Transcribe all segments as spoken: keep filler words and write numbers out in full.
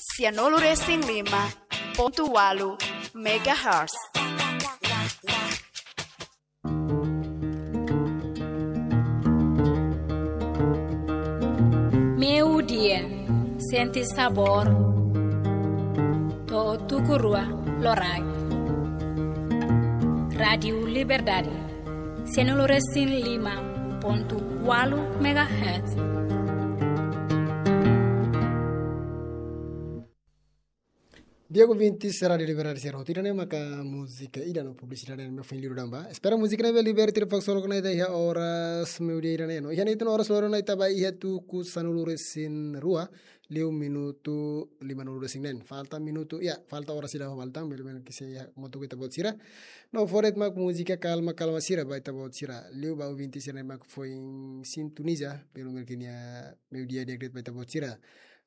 Sianulu resin lima pontu walu megahertz. Meiudia, sente sabór to'o tuku rua loraik. Rádiu Liberdade, sianulu resin lima pontu walu megahertz. Di'ak ouvintes Rádiu Liberdade sira hotu, ida-ne'e maka múzika ida no publisidade ne'ebé foin liu daudaun ba. Espera múzika ne'ebé liberta ita fak solo kona ida iha oras meiudia ida-ne'e no. Iha ne'e tan oras loron ne'e ita ba iha tuku sanulu resin rua, liu minutu limanulu resin neen. Falta minutu, ya, falta oras ida ho falta, bele bele ke se ya motu kita buat sira. No fó de'it mak múzika kalma kalma sira ba ita buat sira. Liu ba ouvintes sira ne'ebé mak foin sintoniza, bele bele ke nia meiudia di'ak de'it ba ita buat sira.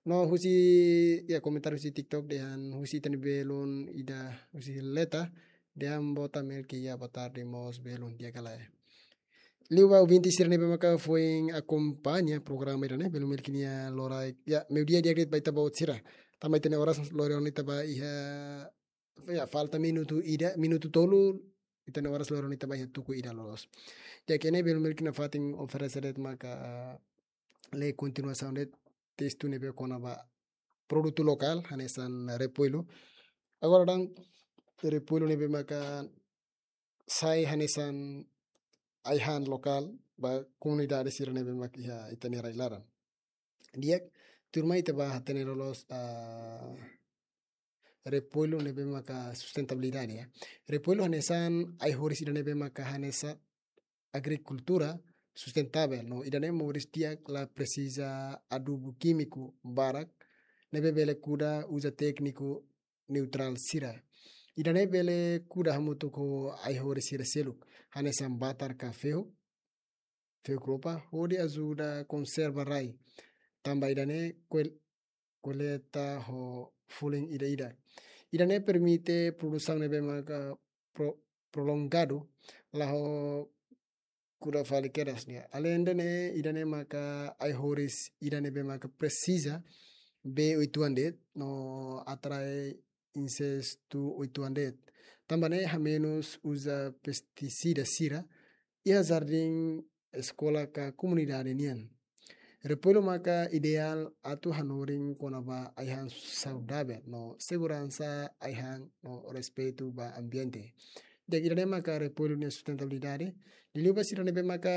No husi, ya, komentáriu husi TikTok dehan husi ita-nia belun ida husi Leta, dehan bota Melki ya boa tarde mós belun di'ak ka lae. Liu ba ouvintes sira ne'ebé maka foin akompaña programa ida-ne'e, belun Melki nia loraik, ya, meiudia di'ak de'it ba ita buat sira. Tanba ita-nia oras loron ne'e ita ba iha, ya, falta minutu ida, minutu tolu, ita-nia oras loron ne'e ita ba iha tuku ida loloos. Di'ak, ne'e belun Melki nafatin oferese de'it maka lee kontinuasaun de'it testu ne'ebé kona-ba produtu lokál, hanesan repoilu. Agora daudaun repoilu ne'ebé maka sai hanesan ai-han lokál ba komunidade sira ne'ebé mak iha ita-nia rai laran. Di'ak, tuirmai ita ba hatene loloos, ah, repoilu ne'ebé maka sustentabilidade, ya. Repoilu hanesan ai-horis ida ne'ebé maka hanesan agrikultura sustentável, no ida-ne'e moris di'ak la presiza adubu kímiku barak, ne'ebé bele kuda uza tékniku neutrál sira. Ida-ne'e bele kuda hamutuk ho ai-horis sira seluk, hanesan batar ka fehu, fehu kropa, hodi ajuda konserva rai. Tanba ida-ne'e koel-, koleta ho folin ida-idak. Ida-ne'e permite produsaun ne'ebé maka pro-, prolongadu, la ho kuda fali kedas nian. Aleinde ne'e, ida-ne'e maka ai-horis ida ne'ebé maka presiza bee uitoan de'it no atrai insestu uitoan de'it. Tanba ne'e hamenus uza pestisida sira iha jardín, eskola ka komunidade nian. Repoilu maka ideál atu hanorin kona-ba ai-han saudavel no seguransa ai-han no respeitu ba ambiente. Di'ak, ida-ne'e maka repoilu nia sustentabilidade. Liuliu ba sira ne'ebé maka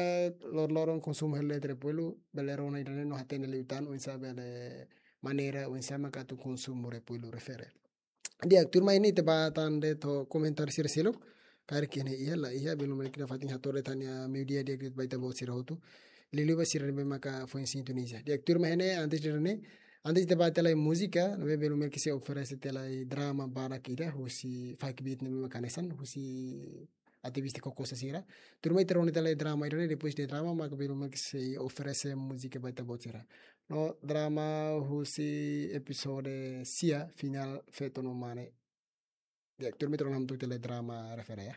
loroloron konsumu hela de'it repoilu, bele rona ida-ne'e no hatene liután oinsá bele maneira oinsá maka atu konsumu repoilu refere. Di'ak, tuirmai ne'e ita ba tan de'it ho komentáriu sira seluk, karik iha ne'e iha, la iha, belun Melki nafatin hato'o de'it tan nia meiudia di'ak de'it ba ita-boot sira hotu. Liuliu ba sira ne'ebé maka foin sintoniza. Di'ak, tuirmai ne'e, antes de ne'e, antes ita ba tiha lai múzika, ne'ebé belun Melki sei oferese tiha lai drama badak ida, husi Fakbit ne'ebé maka hanesan, husi ativista Kokosa sira. Tuirmai ita rona tiha lai drama ida-ne'e, depois de drama, maka belun Melki sei oferese múzika ba ita-boot sira. No drama husi epizódiu sia, finál Feto no Mane. Di'ak, tuirmai ita rona hamutuk tiha lai drama refere, ya.